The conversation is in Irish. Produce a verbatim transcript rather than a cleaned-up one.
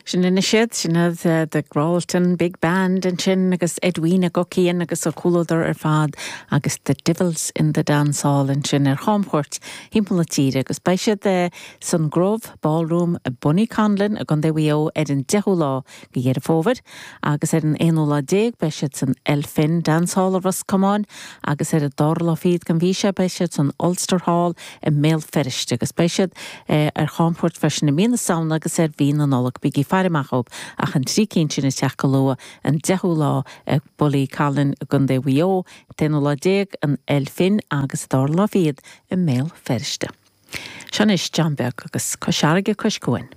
Sin anois iad sin iad the Gralton Big Band ansin agus Edwina Guckian agus a comhluadar ar fad agus the Divils in the Dance Hall ansin ar chamchuairt timpeall na tíre agus beidh siad eh, san Grove Ballroom Bonniconlon i gContae Mhaigh Eo ar an deichiú lá de Dheireadh Fómhair agus ar an aonú lá déag beidh siad san Elphin Dance Hall i Ros Comáin agus ar an dara lá fichead den mhí seo beidh siad san Ulster Hall i mBéal Feirste agus beidh siad eh, ar chamchuairt freisin i mí na Samhna agus ar mhí na Nollag bígí ag faire amach ach an trí cinn sin ag teacht go luath an deichiú lá ag Bonniconlon i gContae Mhaigh Eo, an t-aonú lá déag an Elphin agus an dara lá fichead i mBéal Feirste. Seo anois John Beag agus Cois Fharraige Cois Cuain.